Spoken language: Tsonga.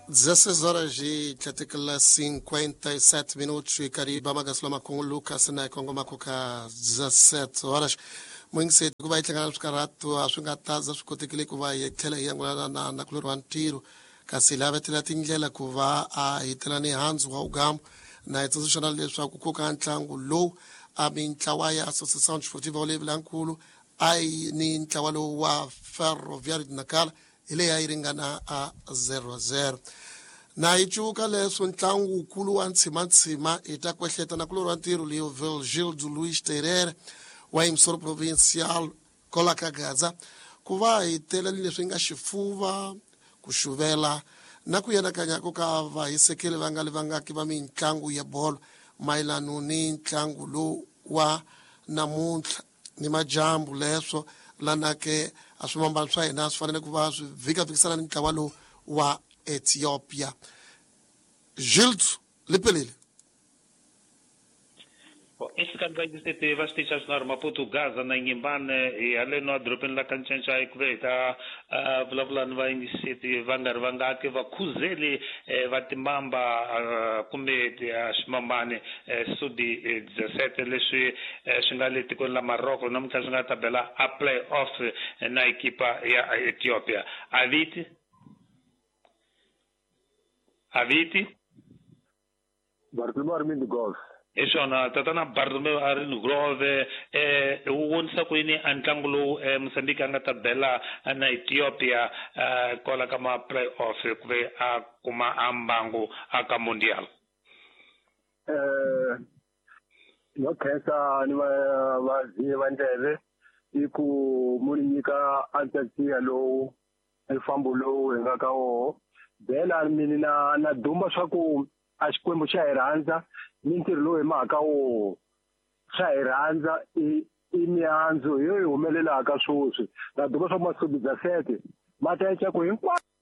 16 horas e 57 minutos e Cariba Magasloma com o Lucas na Kongoma ka 17 horas. Moingiseti ku va yi hlangana swikarhato a swi nga ta za swi kotekile ku va hi tlhela hi angulana na nakulorhi wa ntirho kasi hi lavetela tindlela ku va a hetela ni handzu wa ugamu na hi tsundzuxana leswaku ku ka ntlangu lowu a mintlawa ya Associação Desportiva Olevilankulu a yi ni ntlawa lowu wa Ferroviário de Nacala hi leyi a yi ringana a 0-0. Na yi cuka leswo ntlangu wukulu wa ntshima-ntshima hi ta kwehleta nakulorhi wa ntirho Leovigildo Luís Teirera wa Emissora Provincial Kola ka Gaza ku va hi tele ni leswi nga xifuva, ku xuvela na ku yanakanya ku ka vahisekeli va nga li vangaki va mintlangu ya bolo mayelano ni ntlangu lowu wa namuntlha ni majambu leswo lanake a swimambano swa hina swi fanele ku va swi vhikavhikisana ni ntlawa lowu wa Ethiopia. Gildo Lipelile. Exikarhi ka yisete va xitichi xa swinharhu Maputo, Gaza na Inhambane hi haleno edorobeni la Kancanca ku ve hi ta vulavula ni vayingiseti va nga ri vangaki vakhuzeli va timamba kumbe swimambani sudi 17 leswi swi nga le tikweni la Morocco namuntlha swi nga ta bela a play off na ekipa ya Ethiopia. Aviti Aviti Bartolomeu Armindo Gomes. Hi swona tatana Bartolomeu Armindo Gomes wu vonisa ku yini a ntlangu lowu Mozambique a nga ta bela na Ethiopia kwala ka ma play off ku ve a kuma a mbangu a ka Mundial? No khensa ni va vazivi va ndleve i ku mu ni nyika antsasiya lowu mfambo lowu hi nga ka woho bela mini na na duma swa ku a Xikwembu xa hi rhandza ni ntirho lowu hi mahaka woho xa hi rhandza i i mihandzu hi yo yi humelelaka swoswi na duma swa ku masubi bya sete ma ta ku hinkwaswo.